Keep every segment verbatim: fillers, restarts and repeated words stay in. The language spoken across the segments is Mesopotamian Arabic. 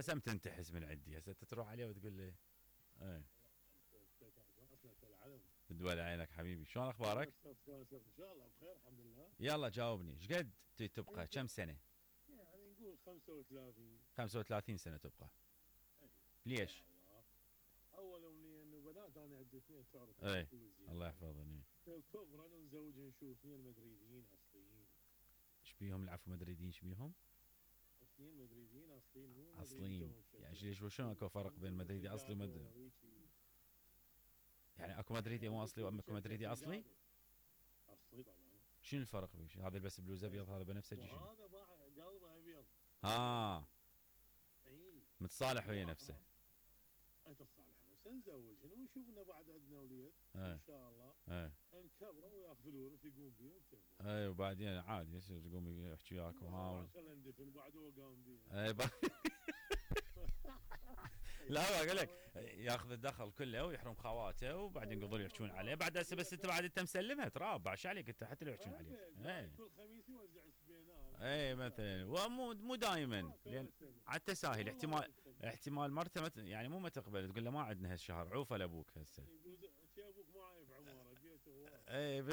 بس هم تنتحس من عندي هسه تروح عليه وتقول لي ايه. تدول عينك حبيبي، شلون اخبارك؟ ان شاء الله بخير الحمد لله. يلا جاوبني، ايش قد تبقى كم سنه؟ يعني نقول خمسة وثلاثين. خمسة وثلاثين سنه تبقى. ليش؟ اول امنيه انه بنات انا عندي اثنين تعرف. ايه الله يحفظهم. كبرا نزوج نشوف اثنين مدريديين اصليين. ايش بيهم العفو مدريديين ايش بيهم؟ اثنين مدريديين اصليين مو اصليين يعني ليش شلون اكو فرق بين مدريدي اصلي ومدريدي؟ يعني اكو مدريدي مو اصلي واكو مدريدي اصلي؟ اصلي طبعا. شنو الفرق بيش؟ هذا بس بلوز ابيض هذا بنفسجي شنو؟ هذا باع قلبه ابيض. اه اي متصالح ويا نفسه. اتصالح نفسه نزوجهن ونشوفنا بعد عندنا اولاد ايه. ان شاء الله. ايه نكبره وياخذ الورث يقوم بيه وكذا. ايه وبعدين عادي يصير يقوم يحكي وياك وها. خلينا ندفن بعد هو قام بيه. ايه لا اقول لك ياخذ الدخل كله ويحرم خواته وبعدين يقدروا يحكون عليه بعد هسه بس انت بعد انت مسلمها تراب بعش عليك انت حتى لو يحكون عليه. اي كل خميس يوزع سبينار. اي مثلا ومو مو دائما لان على التساهل احتمال احتمال مرته مت يعني مو ما تقبل تقول له ما عندنا هالشهر عوفه لابوك هسه. شي ابوك ما عايف عماره بيته هو. اي ب...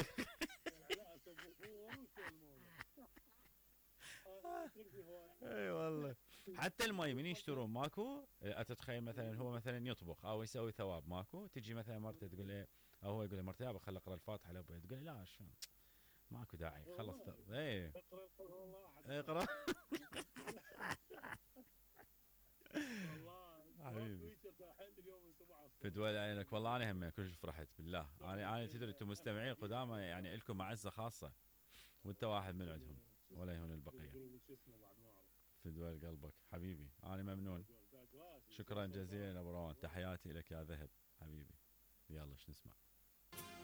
اي والله حتى المي من يشترون ماكو اتتخيل مثلا هو مثلا يطبخ او يسوي ثواب ماكو تجي مثلا مرته تقول له او هو يقول لمرته يابا خل اقرا الفاتحه لابوي تقول لا شو ماكو داعي خلص اي اقرا حبيبي في دول عينك والله انا هم كلش فرحت بالله انا انا تدري انتم مستمعين قدامى يعني لكم معزه خاصه وانت واحد من عندهم ولا يهون البقيه في دول قلبك حبيبي انا ممنون شكرا جزيلا ابو روان تحياتي لك يا ذهب حبيبي يلا ايش نسمع